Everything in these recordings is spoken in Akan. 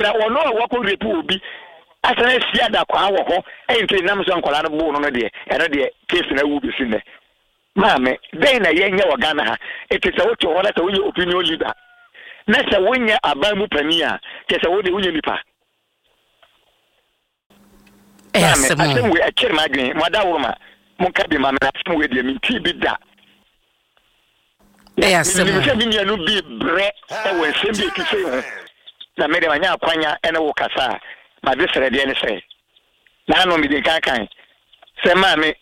Na ɔno a wakɔ rape obi asan asi adakwaa wɔ hɔ ɛnti nam so a nkwadaa no boo no no deɛ ɛno deɛ case no awu bɛsi nnɛ. Maame, dɛn na yɛnyɛ wɔ Ghana ha? Enti sɛ wote hɔ na sɛ wonyɛ opinion leader na sɛ wonyɛ aban mu panin a, kyerɛ sɛ wo deɛ wonyɛ nipa. Ɛyɛ Maame, asɛm o. asɛm wei ɛkyere m'adwene. Mo adaworoma, monka bi ma me na asɛm wei deɛ mentii bi da. Na Ɛyɛ asɛm menim o. sɛ me nuanom bi rebrɛ wɔ nsɛm bi a ɛte sei ho, na me deɛ manya akwanya ne wo kasa a, m'adesrɛdeɛ ne sɛ, naano mede nkan kan sɛ maame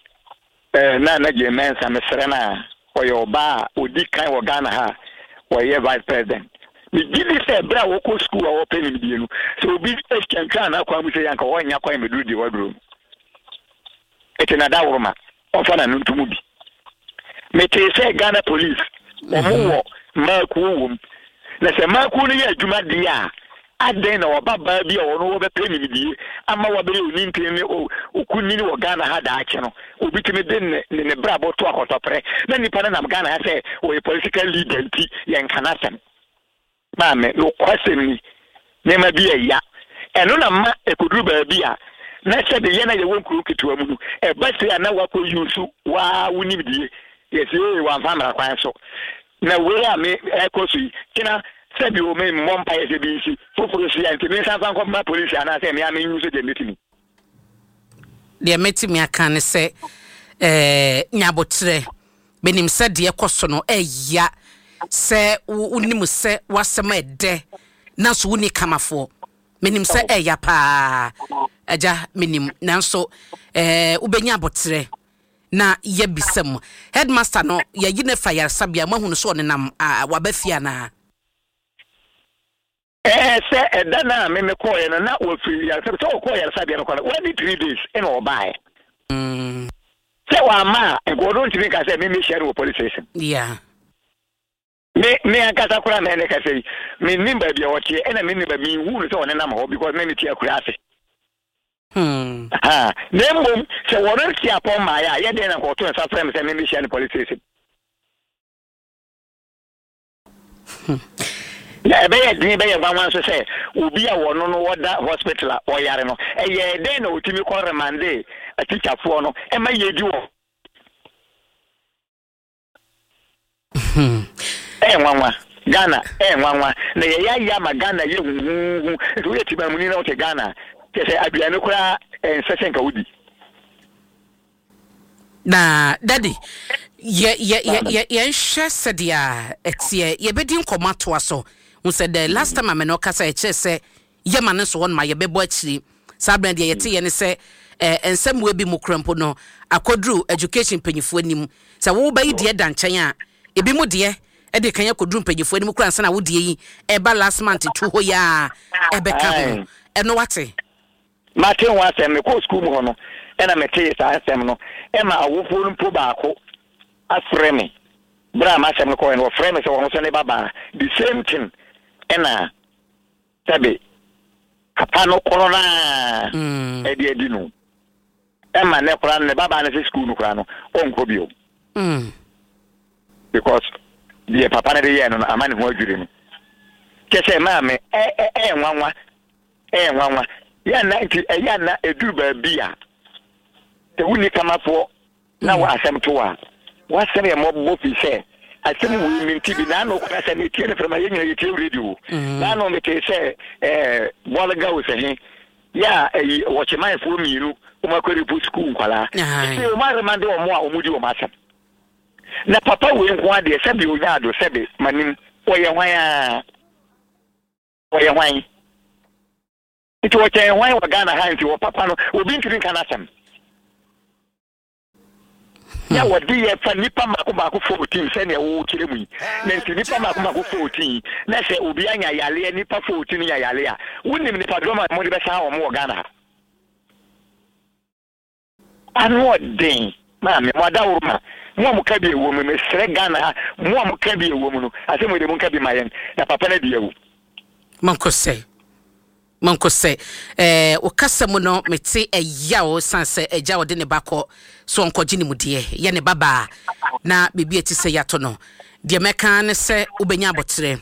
eh, Nana Jane Mensah, mesrɛ no a, ɔyɛ ɔbaa a ɔdi kan wɔ Ghana ha a ɔyɛ Vice President. Megye di sɛ berɛ a wɔkɔ sukuu a wɔpɛ nimdeɛ no, sɛ obi twantwan n'akwan mu sɛ yɛ anka ɔnnya kwan mmɛduru deɛ waduro no. Ete na dawuroma ɔmfa n'ano nto mu bi. Metee sɛ Ghana police wɔn mhm. wɔ mmaakuo wom. Na sɛ mmaakuo no yɛ adwuma deɛ a, adɛn na ɔba baa bi a ɔno wɔbɛpɛ nimdie ama wabɛyɛ onintini ne okunini wɔ Ghana ha daakye no, obi tumi de ne ne ne brabɔ to akɔtɔprɛ na nipa no nam Ghana ha sɛ ɔyɛ political leader nti yɛnka n'asɛm. Maame, nokwasɛm ni, nneɛma bi yɛ ya. Ɛno na ma ɛkɔduru baabi a, na sɛbe yɛn a yɛwɔ nkuro nketewa mu no, ɛba sei a na woakɔ use wo ara wo nimdie. Yɛse ee, wamfa mmara kwan so. Na wei a me ɛrekɔ so yi, kyena sɛbe o, memmɔ mpaeɛ sɛ bi nsi, foforɔ si a, nti mensan mfa nkɔma polisi anaasɛ me ara me use deɛ mɛtumi. Deɛ mɛtumi aka ne sɛ, eh, nya aboterɛ. Menim sɛ deɛ ɛkɔ so no ɛya sɛ wonim sɛ w'asɛm ɛdɛ nanso wonni kamafoɔ. Menim sɛ ɛya paa agya menim nanso ɛɛ wobɛnya aboterɛ na yɛbisa mu. Headmaster no yɛyi no afa yaresabea moahunu sɛ ɔnenam waba fie anaa? Ɛɛ sɛ ɛda no a me mekɔɔeɛ no na wafiri yaresabea sɛ ɔkɔɔ yaresabea no kɔ no wadi 3 days ɛna ɔbaeɛ. Sɛ wamma a nka ɔno ntumi nka sɛ me mehyia no wɔ police station. Me ankasa koraa mɛ ne kasa yi mennim baabi a ɔteɛ ɛna mennim baabi menhuu no sɛ ɔnenam hɔ because me mete akura ase. Ha, na mmom sɛ wɔn nte apɔn mmaeɛ a yɛ dɛn na nka ɔto nsa frɛ me sɛ me mehyia no police station. Na ɛbɛyɛ den bɛyɛ nwanwa nso sɛ obi a wɔno no ɔda hospital a ɔyare no, ɛyɛɛ dɛn na ɔtumi kɔ remande atikyafoɔ no ma yɛdi wɔn? Ɛyɛ nwanwa. Ghana ɛyɛ nwanwa. Na yɛyɛ ayɛ ama Ghana yɛ huhuuhu. Nti woyɛ tibamuni na wote Ghana a, kyerɛ sɛ aduane koraa ɛnsɛ sɛ nka wodi. Na daddy, yɛ yɛ yɛ yɛ yɛnhwɛ sɛdeɛ ɛteɛ. Yɛbɛdi nkɔmmɔ atoa so. Hu sɛ the last time a me ne wo kasa ɛkyerɛ sɛ yɛma no nso hɔ no ma yɛbɛbɔ akyiri. Saa berɛ no deɛ yɛteeɛ ne sɛ eh, nsɛmmoa bi mu kora mpo no akɔduru education mpanyinfoɔ anim. Sɛ wo ba yi deɛ da nkyɛn a, ebi mu deɛ ɛde kan akɔduru mpanyinfoɔ anim kora ansa na wo deɛ yi ɛba last month tu hɔ yi a ɛbɛka ho. Ɛno wate? Mate ho asɛm. Mekɔɔ sukuu mu hɔ no na metee saa asɛm no. Ɛma awofoɔ no mpo baako afrɛ me berɛ a m'asɛm no kɔeɛ no, wɔfrɛɛ me sɛ wɔn nso ne babaa. The same thing ɛna sɛbe papa no korɔ no ara ɛde adi no. Ɛma nnɛ koraa no ne babaa no sɛ sukuu no koraa no ɔnkɔ bio. Because deɛ papa no de yɛɛ no no ama ne ho adwiri no. Kyɛ sɛ maame ɛyɛ nwanwa. Ɛyɛ nwanwa. Yɛ a na nti ɛyɛ a na ɛduru baabi a sɛ wonni kamafoɔ na wɔ asɛm to a w'asɛm yɛ mmɔbɔ firi sɛ asɛm wei mente bi naano koraa sɛ metie no frɛma yɛ nyina yɛtie radio naano metee sɛ ɛɛ bɔlga o sɛ he yɛ a ɛyi wɔkyemanfoɔ mmienu wɔn akɔrepo sukuu nkwalaa sɛ wɔn aremande wɔn a wɔn di wɔn asɛm na papa wei nko adeɛ sɛbe onya ado sɛbe manim ɔyɛ hwan a. Ɔyɛ hwan? Nti ɔkyɛn hwan wɔ Ghana ha nti wɔ papa no obi ntumi nka n'asɛm. Yɛ wɔde yɛ fa nipa mako mako 14 sɛnea wɔkyerɛ mu yi. Na nti nipa mako mako 14 na sɛ obi anya yareɛ nipa 14 nya yareɛ a wonim nipa dɔm a wɔde bɛsan wɔn wɔ Ghana ha. Ano ɔden maame mo adaworoma mo a mo ka bi ɛwɔ mu mesrɛ Ghana ha mo a mo ka bi ɛwɔ mu no asɛm wei deɛ mo nka bi ma yɛn na papa no adi awu. Monkɔ sɛ monkɔ sɛ eh, wo kasa mu no mete ɛyaw san sɛ agya ɔde ne ba kɔ so ɔnkɔgye ne mu deɛ yɛ ne babaa na biribi a ɛte sɛ yɛato no deɛ mɛka ne sɛ wobɛnya aboterɛ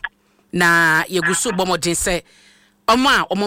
na yɛgu so bɔ mmɔden sɛ ɔmo a ɔmo